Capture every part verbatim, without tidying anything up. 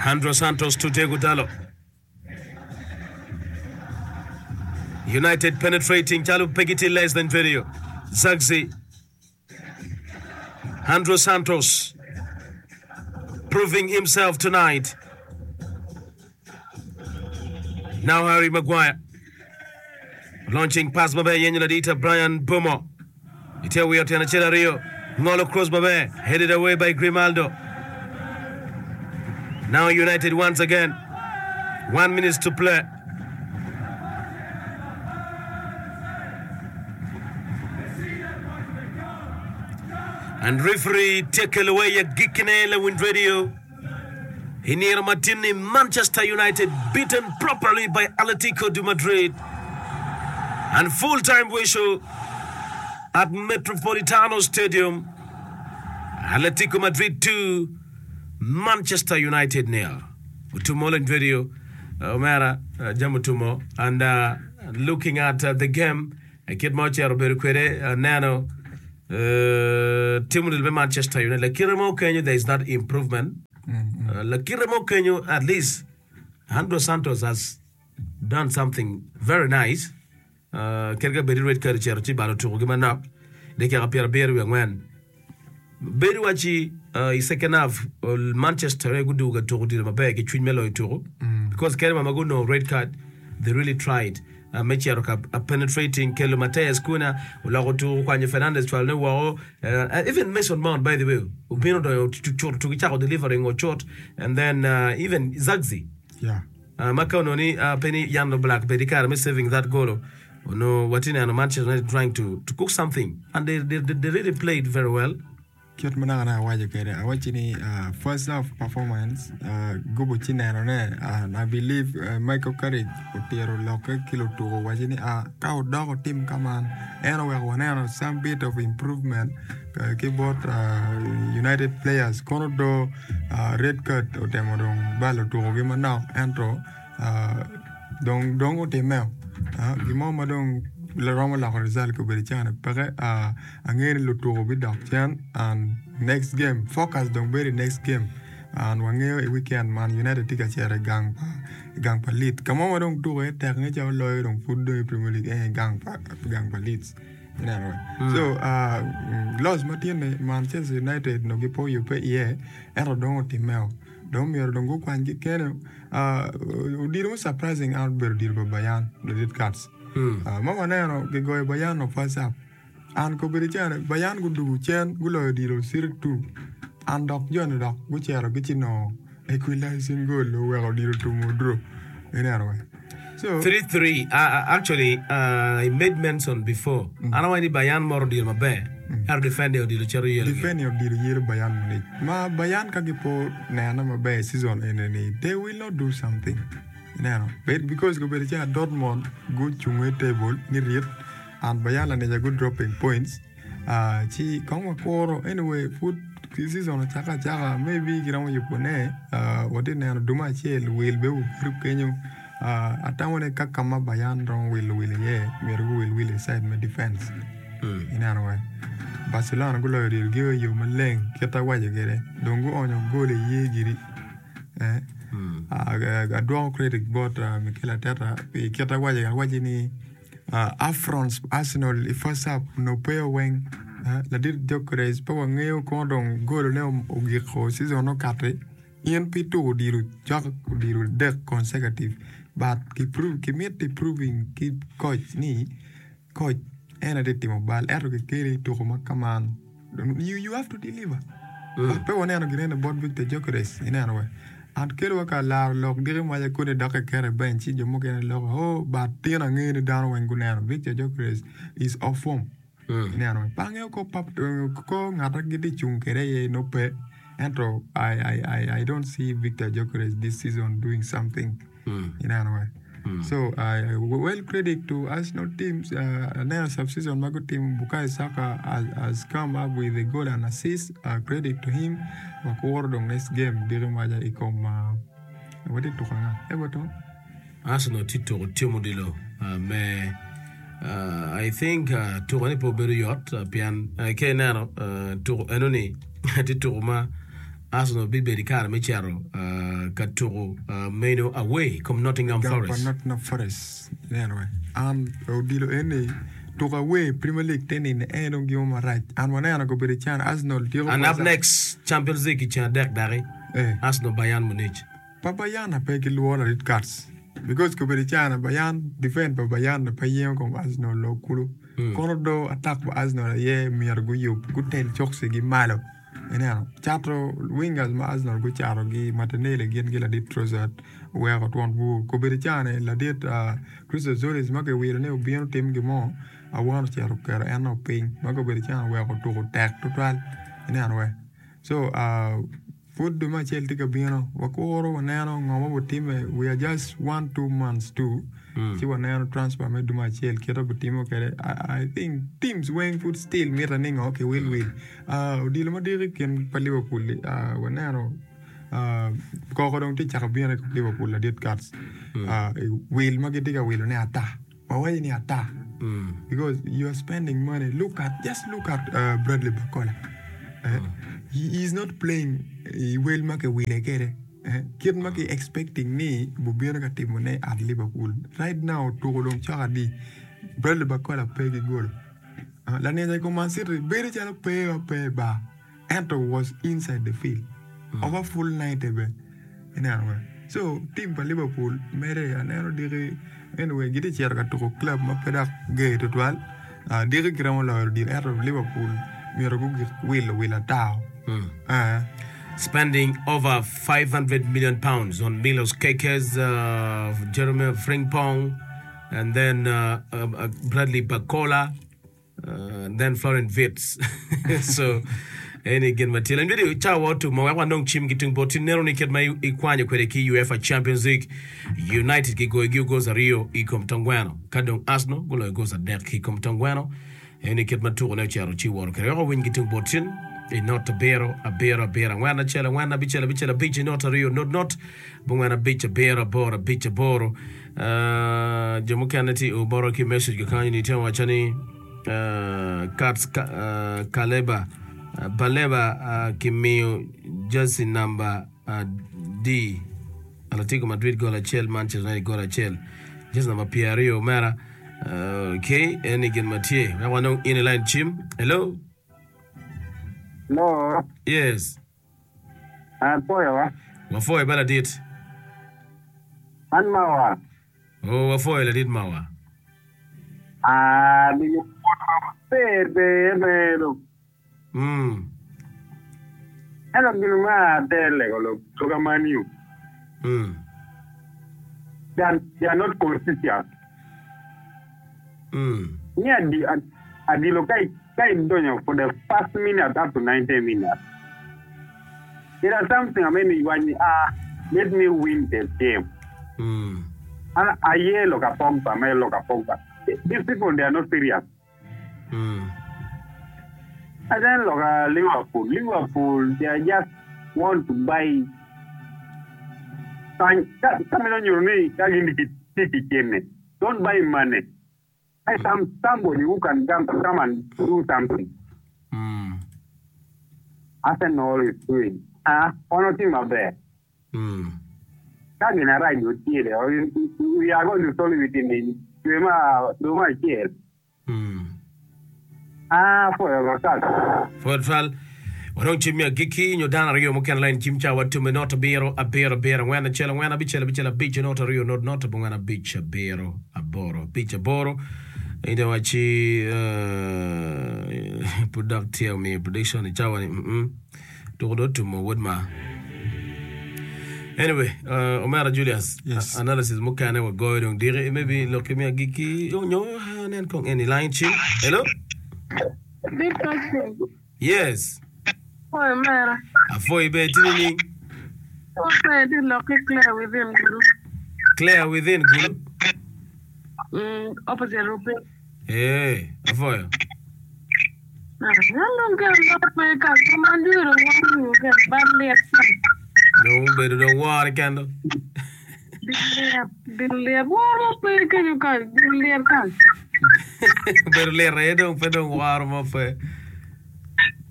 Andrew Santos to Diego Dalot. United penetrating calo pe gitye less than video. Zirkzee. Andrew Santos proving himself tonight. Now Harry Maguire launching pass maber yenyo ladita Brian Mbeumo. Ite wiyo tyen acel aryo ngolo cross maber headed away by Grimaldo. Now United once again. One minute to play. And referee taken away agikine Lewin Radio. I nino ma tin-ni Manchester United beaten properly by Atletico de Madrid and full time whistle at Metropolitano Stadium Atletico Madrid two Manchester United nil. Otumo Lewin Radio omera jami otumo and uh, looking at uh, the game kit ma ocito obedo kwede aneno uh, team odilo me Manchester United lakite mo kenyo there is that improvement uh, lakite mo kenyo at least Andrew Santos has done something very nice uh, kit ka bedi red card ocito ci balo tuko gi manok dakika pyera abiro wiye angwen bedo waci uh, i second half uh, Manchester gudugo ka tuko odilo maber ki cwiny me loyo tuko because kede ma gunongo red card they really tried uh, me cito ka uh, penetrating kelo Matheus Cunha oloko tuko kwanyo Fernandes cwalo ne woko uh, even Mason Mount by the way obino donyo cuto tuko cako delivering ocut and then uh, even Zirkzee Yeah. uh, ma ka onongo ni uh, pe ni Jan Oblak bedi kare me saving that goal ono watye neno Manchester United trying to, to cook something and they, they, they really played very well Kit ma naka awaco kwede awaco ni uh, first half performance uh, gubo ci nenone uh, I believe uh, Michael Carrick otiro lokke ki lutuko waco ni uh, ka odoko tim kaman en oweko waneno some bit of improvement uh, ki bot uh, United players kono do uh, red card otemo dong balo tukogi manok ento uh, dong dong otimeo uh, gimo ma dong romo loko result kobedo cani peke uh, angeyo ni lutuko bidok cen and next game focus dong bedo i next game and wangeyo i weekend man United tye ka cito i gang pa i gang pa Leeds ka mo ma dong tuko iye tek nge calo loyo dong pud dong i Premier League en i gang pa gang pa Leeds ineno so uh, loss ma tye-ni Manchester United no gipo yubbe iye ento dong otimeo dong myero dong gukwany ki kene uh, odilo mo surprising an obedo odilo pa Bayern the red cards uh, ma waneno gigoyo Bayern no first half an kobedo cene Bayern gudugo cen guloyo odilo zero two an dok joni dok gucito gici nongo equalizing goal oweko odilo tumo draw ineno we so three three uh, actually uh, I made mention before mm. an awaco ni Bayern moro odilo maber ento defender odilo cito yelo defender odilo yelo Bayern Munich ma Bayern ka gipo neno maber season ene ni they will not do something ineno but because kobedo calo Dortmund gucungo i table ni rit and Bayern lanica gu dropping points uh, ci kong wakuro anyway pud season ocake acaka maybe giromo yubone uh, watye neno duma acel wil be obedo kenyo uh, atamo ni ka kama Bayern romo wilo wil iye myero guwil wil i side me defense mm. ineno we Barcelona guloyo odilo i yo maleng kit awaco kwede dong guonyo gol i ye giri eh? mm. uh, adwoko credit bot uh, Mikel Arteta pi kit awaco awaco ni uh, affronts Arsenal i first half no pe weng uh, ladit Gyökeres pe wangeyo kono dong golone ogiko season okati in pi tuko odilo cok odilo adek consecutive but ki prove kimiti proving ki coach ni coach en aye tye timo bal ento kikeli tuko ma kaman you, you have to deliver mm. pe waneno ginene bot Victor Gyökeres ineno we an kelo wa ka laro lok diki maca koni dok kiketo i bench ci jo mukene loko oh but tin angeyo ni dano weng guneno Victor Gyökeres is off form mm. ineno we pe angeyo ko pap ko ngat gitye cung kwede iye no pe ento I, I, I, I don't see Victor Gyökeres this season doing something mm. ineno we Mm. So uh, well credit to Arsenal teams. Uh, aneno sub-season ma gutimo Bukayo Saka has, has come up with a goal and assist. Uh, credit to him. Wakuro dong next game diki maca i kom uh, watye tuko anga Everton. Arsenal tye tuko tim odilo uh, me uh, I think uh, tuko ni pe obedo yot uh, pien uh, ka ineno uh, tuko enoni tye tuko ma Arsenal bibedo i kare me cito uh, ka tuko uh, meno away kom Nottingham Gang pa Forest. Nottingham Forest ineno we an odilo eni tuko away Premier League te nini en dong gimo marac an waneno kobedo can Arsenal tyeko And up koca next, Champions League i ceng adek daki eh Arsenal Bayern Munich. Pa Bayern pe gilworo ladit Cats because kobedo can Bayern defend pa Bayern pe yengo kom Arsenal lo kulu Mm. kono do attack pa Arsenal aye myero guyub gutel coksi gi malo ineno cato wingers ma Arsenal gucato gi Martinelli gin gi ladit Trossard oweko twon bur kobedo can ladit uh, Christos Tzolis ma kiwiro ni obino tim gimo awano ocito oketo en piny ma kobedo can oweko tuko tek tutwal ineno we so uh, pud dwe me acel tye ka bino wakuro waneno ngo ma obitime we are just one two months to Mm. ci waneno transfer me dwe me acel kit obitimo kwede I, I think teams weng pud still mitte ni ngo ki wil wil uh, odilo madit i kin pa Liverpool uh, waneno uh, koko dong tye cako bino i kom Liverpool ladit Cats Mm. uh, wil ma gitye ka wilo ni ata wawaco ni ata Mm. because you are spending money. Look at just look at uh, Bradley Barcola. Uh, he is not playing uh, well ma ke wile kede. Eh, kit ma ki expecting ni bubino ka timo ne at Liverpool. Right now tuko dong cok adi Bradley Barcola pe ki goal. Uh, Lanenja i kom Man City bedo calo pe ma pe ba. Ento was inside the field. Over full ninety be. Ineno we. So team pa Liverpool mere aneno diki anyway gitye cito ka tuko club ma pe dok ger tutwal. Uh, diki giromo loyo odilo ento Liverpool myero gugik wilo wil ata. Mm. Uh, Spending over five hundred million pounds on Milos Kerkez, uh, Jeremy Frimpong, and then uh, uh, uh, Bradley Barcola, uh, and then Florian Wirtz. So, any gin matil. And video cha watu ma wa nong chim gitung boti nero ni ket ma ikwanyo kwede ki UEFA Champions League. United ki goyo gi goals ariyo i kom tongweno. Kadong Arsenal goloyo goals adek ki kom tongweno. Eni kit ma tuko ne ocero ci woro kede. Weko winy gitung botin i not abiro abiro abiro angwen acel angwen abicel abicel abic i not aryo not not abongwen abic abiro aboro abic aboro. Uh, jo mukene tye oboro ki message kakany ni tye waco ni uh, Cats ka, uh, Kaleba uh, Baleba uh, kimiyo jersey number uh, D Atletico Madrid goal acel Manchester United goal acel jersey number piero aryo omera uh, okay eni gin ma tye wek wanong in i line cim. Hello. No, Yes. apoyo Wafoyo ba ladit. an mawa. Oh, wafoyo ladit mawa. Ah, di pe pe Mm. Eno gino ma tele ko lo Man U. Mm. They are, they are not consistent. Mm. Ni adi adilo kai kai donyo for the first minute up to ninety minutes. There are something I mean when ah let me win the game. Mm. And I yellow ka Pogba, my loka Pogba. These people they are not serious. Mm. And then look at Liverpool. Liverpool, they are just want to buy. Don't buy money. Buy some somebody who can come, come and do something. Mm. Arsenal is doing. Ah, ono team up there. Mm. Kagi na right we are going to solve it in the Mm. Ah, for your For twal wanong cim mi agikki nyo dano aryo mukene line cim ca watume not abiro abiro abiro angwen acel angwen abicel abicel abic not aryo not not abongwen abic abiro aboro abic aboro inde waci uh, pud dok tye omiyo prediction i cawa ni mm tuko do tumo wod ma. Anyway, uh, Omera Julius, Yes. uh, analysis mukene wagoyo dong diki maybe loki mi agikki nyo nen kong eni line cim. Hello? Big question. Yes. Oh, Mera. Afoi be tini ni What's the lucky Claire within Gulu? Claire within Gulu. Mm, opposite Rupi. Eh, afoyo. Hello, girl. Come on, do it. One you get badly upset. Dong bedo dong wore kendo. Diliep, woro pe kenyo ka, diliep ka. Bedo lir aye dong pe dong woro mo pe.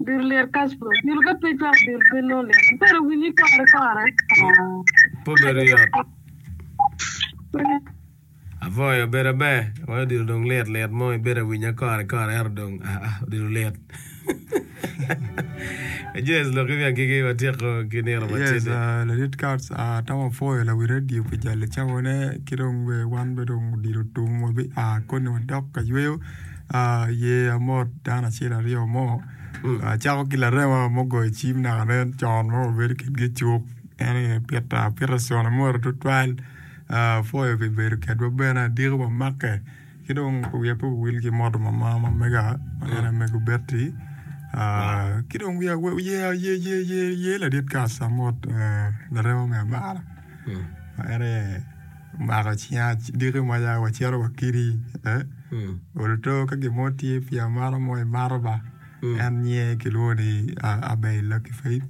Odilo lit Kaspo. Odilo ka pe cwak odilo pe nongo lit. Pero winyi kore kore. Pe obedo yot. Avoyo bedo aber wai odilo dong lit lit mo ibedo awinya kore kore ento dong aa odilo lit. Yes lok ki agiki watyeko ki nino Yes, matidi. uh, ladit Kats, uh, atamo apwoyo lawi radio pi jalo cawane ki dong be wan be dong odilo tum wabi a koni wadok ka yweyo uh, ye amot dano acel aryo mo Mm. uh, cako ki larema mugoyo cim naka nen con ma wabedo kedgi icuk en aye Peter Peterson amoto tutwal uh, apwoyo pi bedo kedwa bene adiko wamake ki dong wiya pe owil ki moto mama ma mega ma en aye mego Betty Wow. uh, ki dong wiya ye ye ye ye ye ladit Kats amot uh, larema me amara Mm. ma en aye omako cinga diki maca wacito wakidi eh? Mm. Oluto ka gin mo tye pii amata mo imato ba Mm. en nyinge kilwongo ni uh, Abel Lucky Faith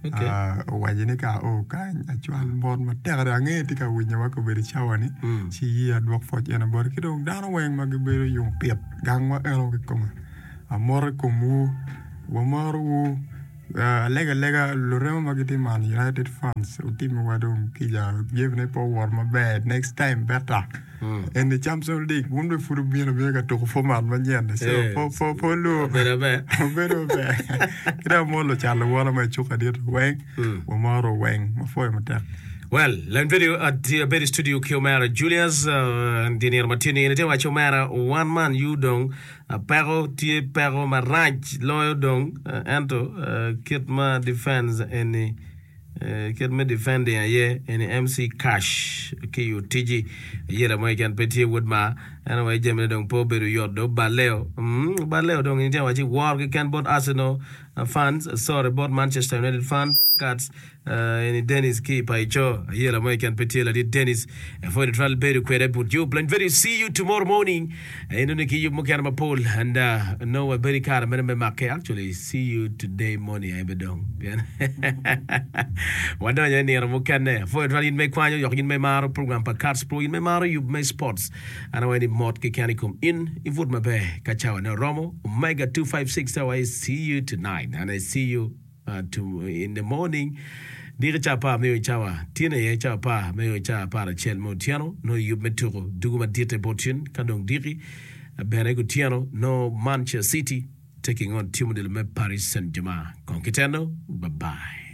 Okay. uh, owaco ni ka ao kany acwal mot matek adada angeyo tye ka winyowa kobedo cawa-ni Mm. ci ye adwok pwoc ene bote ki dong dano weng ma gibedo yung pit gangwa eno kikome amoto i komwu wamorowu uh, alega alega lurema ma gitye Man United fans otimiwa dong kica jamine pe owot maber next time better Mm. eni Champions League wun be pud obino bino ka tuko format manyen so Eh, po po po lu obedo aber. obedo maber ki dong amot lucat luwota ma icuk adit weng Mm. wamoro weng mapwoyo matek Well, Len video at the Abedi Studio ki Omera Julius uh, di nino matini ni te wacho Omera one man you dong uh, peko tye peko marac loyo dong uh, ento uh, kit ma defense eni uh, kit me defending aye eni M C Cash ki utiji yela mo keken pe tye wod ma en aye jamine dong pe obedo yot do baleo mm, baleo dong ni te wachi war keken bot Arsenal uh, fans sorry bot Manchester United fans cats uh, eni Dennis ki paicho yela mo keken pe tye ladit Dennis for the trial bedo kwede but you plan very see you tomorrow morning eno ni ki yub mukene mapol and uh, no wabedi kare mene me make actually see you today morning aye be dong pien wadonyo i nino mukene for the trial in me kwanyo yok in me maro program pa Cats Pro in me maro yub me sports an awaye ni mot keken i kom in ibut maber ka cawa ne oromo Omega two five six I see you tonight and I see you uh, to, in the morning diki ca apar me cawa tyen aye cawa apar me cawa apar acel me otyeno no yub me tuko dugu madit e bot ka dong diki bene kutyeno no Manchester City taking on team me Paris Saint-Germain kon kiteno bye bye.